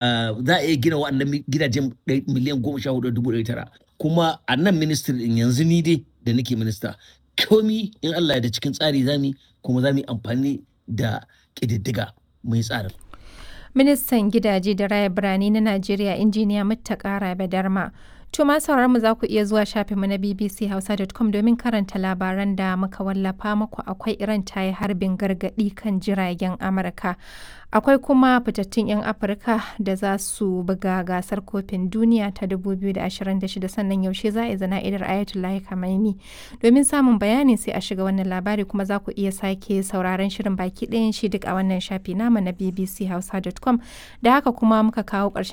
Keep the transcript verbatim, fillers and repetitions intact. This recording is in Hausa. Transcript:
Za a iya gina wa'annan gidajen miliyan goma sha hudu dubu ɗari tara. Kuma a nan ministry din yanzu, ni dai da nake minista, komi in Allah ya da cikin tsari zamu, kuma zamu yi amfani da ƙididdiga mai tsarin. Ministan Gidaje da Raya Birane na Najeriya, Injiniya Muttaka Rabe Darma. To ma sauraron mu, za ku iya zuwa shafinmu na b b c hausa dot com domin karanta labaran da muka wallafa muku. Akwai Iran ta yi harbin gargaɗi kan jiragen Amurka. Akwai kuma fitattun 'yan Afirka da za su buga gasar kofin duniya ta dubu biyu da ashirin da shida, sannan yaushe za a yi zana'idar Ayatollah Khamenei. Domin samun bayani sai a shiga wannan labari, kuma za ku iya sake sauraron shirin baki ɗayan shi duk a wannan shafi namu na b b c hausa dot com. Da haka kuma muka kawo ƙarshen